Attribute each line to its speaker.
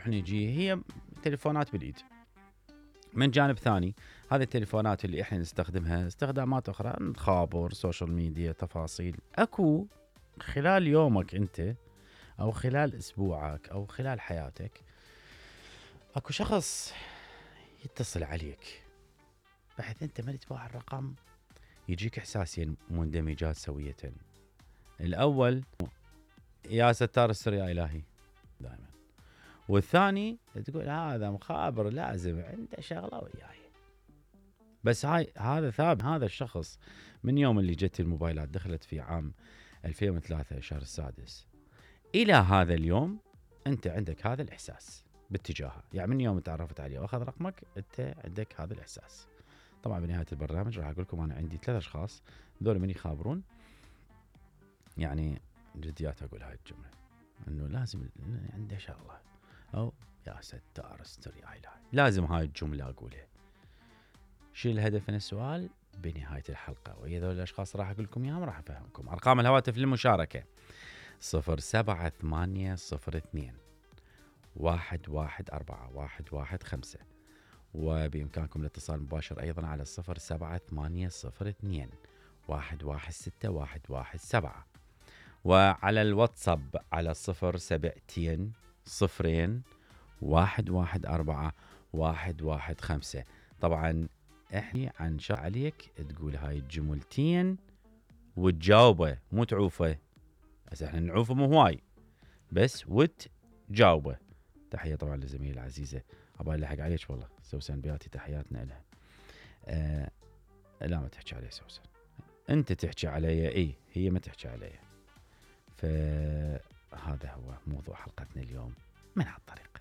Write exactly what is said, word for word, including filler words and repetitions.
Speaker 1: نروح نجي، هي تليفونات بالايد. من جانب ثاني هذه التليفونات اللي احنا نستخدمها استخدامات اخرى، نخابر، سوشيال ميديا، تفاصيل. اكو خلال يومك انت او خلال اسبوعك او خلال حياتك اكو شخص يتصل عليك، بحيث انت ما تباع الرقم يجيك احساسين مندمجات سوية. الاول يا ستار السر يا الهي دائما، والثاني تقول هذا مخابر لازم عنده شغله وياي. بس هاي هذا ثابت، هذا الشخص من يوم اللي جت الموبايلات دخلت في عام ألفين وثلاثة شهر السادس الى هذا اليوم انت عندك هذا الاحساس باتجاهه. يعني من يوم تعرفت عليه واخذ رقمك انت عندك هذا الاحساس. طبعا بنهايه البرنامج راح اقول لكم انا عندي ثلاث اشخاص ذول من يخابرون، يعني جديات اقول هاي الجمله انه لازم عنده شغله، او يا ستار استر يا الهي، لازم هاي الجمله اقولها. شو الهدف من السؤال؟ بنهايه الحلقه، وإذا ذول الاشخاص راح اقول لكم اياهم راح افهمكم. ارقام الهواتف للمشاركه صفر سبعة ثمانية صفر اثنين واحد واحد أربعة واحد واحد خمسة، وبإمكانكم الاتصال مباشر أيضا على صفر سبعة ثمانية صفر اثنين واحد واحد ستة واحد واحد سبعة، وعلى الواتساب على صفر سبعتين صفرين واحد واحد أربعة واحد واحد خمسة. طبعا احكي عن شا عليك تقول هاي الجملتين وتجاوبه، مو تعوفه. بس احنا نعوفه مو هواي، بس وتجاوبه. تحية طبعا لزميلي العزيزة، ابغى الحق عليك والله سوسن بياتي، تحياتنا لها. آه لا ما تحكي علي سوسن، انت تحكي علي، اي هي ما تحكي علي. فهذا هو موضوع حلقتنا اليوم من هالطريقة.